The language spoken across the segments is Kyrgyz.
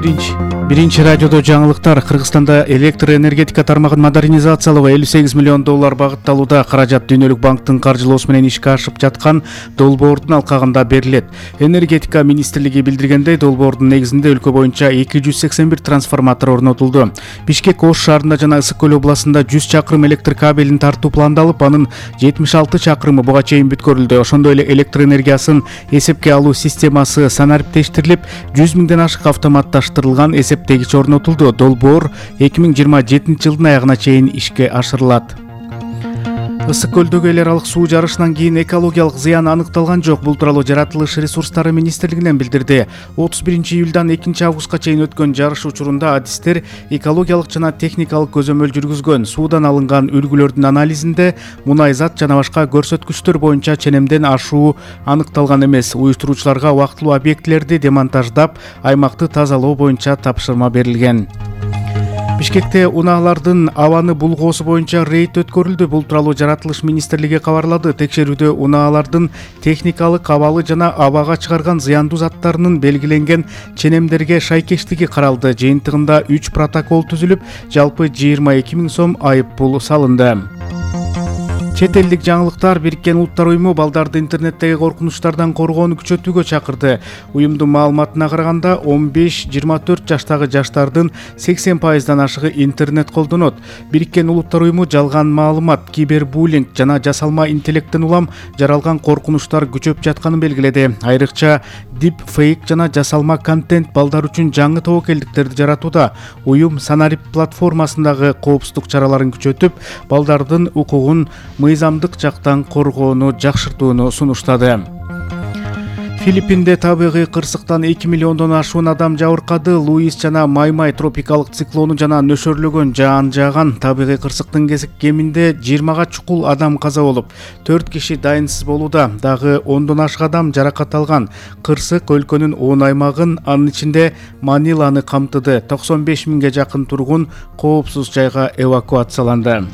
Биринчи радиодо жаңылыктар. Кыргызстанда электр энергетика тармагын модернизациялоо $58 миллион багытталууда. Каражат Дүйнөлүк банктын каржылоосу менен ишке ашып жаткан долбоордун алкагында берилет. Энергетика министрлиги билдиргендей, долбоордун негизинде өлкө боюнча 281 трансформатор орнотулду. Бишкек Ош шаарында жана Ысык көл областында 100 чакырым электр кабелин тартуу пландалып, анын 76 чакырымы буга чейин бүткөрүлдү. Ошондой эле электр энергиясын эсепке алуу системасы санариптештирилип, 100 миңден ашык автоматташтырылган эсептегич орнотулду. Долбоор 2027 жылдын аягына чейин ишке ашырылат. Ысык көлдөгү эл аралык суу жарышынан кийин экологиялык зыян аныкталган жок. Бул тууралуу Жаратылыш ресурстары министрлигинен билдирди. 31 июлдан 2 августка чейин өткөн жарыш учурунда адистер экологиялык жана техникалык көзөмөл жүргүзгөн. Суудан алынган үлгүлөрдүн анализинде мунайзат жана башка көрсөткүчтөр боюнча ченемден ашуу аныкталган эмес. Уюштуруучуларга убактылуу объектилерди демонтаждап, аймакты тазалоо боюнча тапшырма берилген. Бишкекте унаалардын абаны булгоосу боюнча рейд өткөрүлдү. Бул тууралуу Жаратылыш министрлиги кабарлады. Текшерүүдө унаалардын техникалык абалы жана абага чыгарган зыяндуу заттарынын белгиленген ченемдерге шайкештиги каралды. Жыйынтыгында 3 протокол түзүлүп, жалпы 22 000 сом айып пул салынды. Чет элдик жаңылыктар. Бириккен Улуттар уюму балдарды интернеттеги коркунучтардан коргоону күчөтүүгө чакырды. Уюмдун маалыматына караганда 15-24 жаштагы жаштардын 80%дан ашыгы интернет колдонот. Бириккен Улуттар уюму жалган маалымат, кибербуллинг жана жасалма интеллекттен улам жаралган коркунучтар күчөп жатканын белгиледи. Айрыкча deepfake жана жасалма контент балдар үчүн жаңы тобокелдиктерди жаратууда. Уюм Санарип платформасындагы коопсуздук чараларын күчөтүп, балдардын укугун мыйзамдык жактан коргоону жакшыртууну сунуштады. Филиппинде табигый кырсыктан 2 миллиондон ашуун адам жабыркады. Луис жана Маймай тропикалык циклону жана нөшөрлөгөн жаан жааган табигый кырсыктын кеминде 20га чукул адам каза болуп, 4 киши дайынсыз болууда. Дагы 10дон ашык адам жаракат алган. Кырсык өлкөнүн 10 аймагын, анын ичинде Маниланы камтыды. 95 миңге жакын тургун коопсуз жайга эвакуацияланды.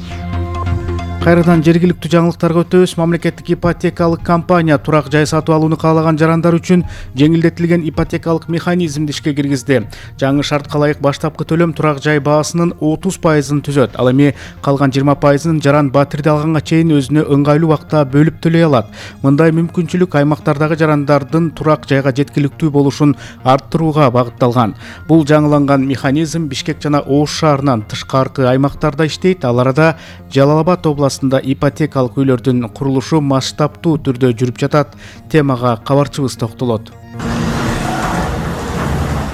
Кайрадан жергиликтүү жаңылыктарга өтөбүз. Мамлекеттик ипотекалык компания турак жай сатып алууну каалаган жарандар үчүн жеңилдетилген ипотекалык механизмди ишке киргизди. Жаңы шартка ылайык баштапкы төлөм турак жай баасынын 30%-ын түзөт. Ал эми калган 20%-ын жаран батирди алганга чейин өзүнө ыңгайлуу убакта бөлүп төлөй алат. Мындай мүмкүнчүлүк аймактардагы жарандардын турак жайга жеткиликтүү болушун арттырууга багытталган. Бул жаңыланган механизм Бишкек жана Ош шаарынан тышкаркы аймактарда иштейт. Ал арада Жалал Абад областында ипотекалык үйлөрдүн курулушу масштабтуу түрдө жүрүп жатат. Темага кабарчыбыз токтолот.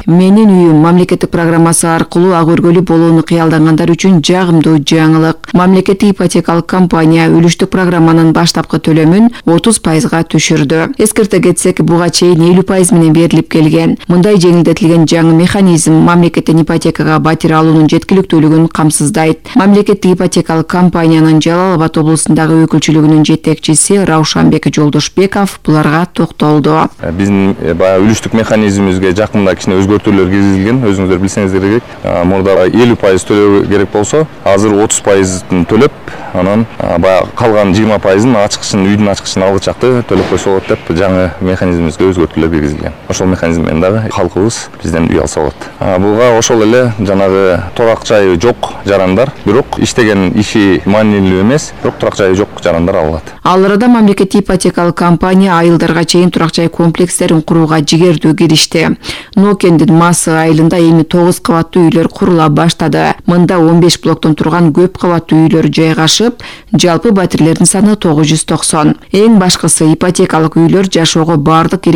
Менин үйүм мамлекеттик программасы аркылуу ак өргөлүү болууну кыялдангандар үчүн жагымдуу жаңылык. Мамлекеттик ипотекалык компания үлүштүк программанын баштапкы төлөмүн 30%га түшүрдү. Эскерте кетсек, буга чейин 50% менен берилип келген. Мындай жеңилдетилген жаңы механизм мамлекеттен ипотекага батир алуунун жеткиликтүүлүгүн камсыздайт. Мамлекеттик ипотекалык компаниянын Жалал Абад облусундагы өкүлчүлүгүнүн жетекчиси Раушанбек Жолдошбеков буларга токтолду. Биздин баягы үлүштүк механизмибизге жакында кичине өзгөртүүлөр киргизилген. Өзүңүздөр билсеңиздер керек. Мурда 50% төлөө керек болсо, азыр 30%-ын төлөп, анан баягы калган 20%-ын ачкычын, үйдүн ачкычын алгычакты төлөп койсо болот деп жаңы механизмибизге өзгөртүүлөр киргизилген. Ошол механизм менен дагы халкыбыз бизден үй алса болот. Буга ошол эле жанагы турак жайы жок жарандар, бирок иштеген иши маанилүү эмес, бирок турак жайы жок жарандар алат. Ал арада мамлекеттик ипотекалык компания айылдарга чейин турак жай комплекстерин курууга жигердүү киришти. Нокендин Масы айылында эми 9 кабаттуу үйлөр курула баштады. Мында 15 блоктон турган көп кабаттуу үйлөр жайгашып, жалпы батирлердин саны 990. Эң башкысы ипотекалык үйлөр жашоого бардык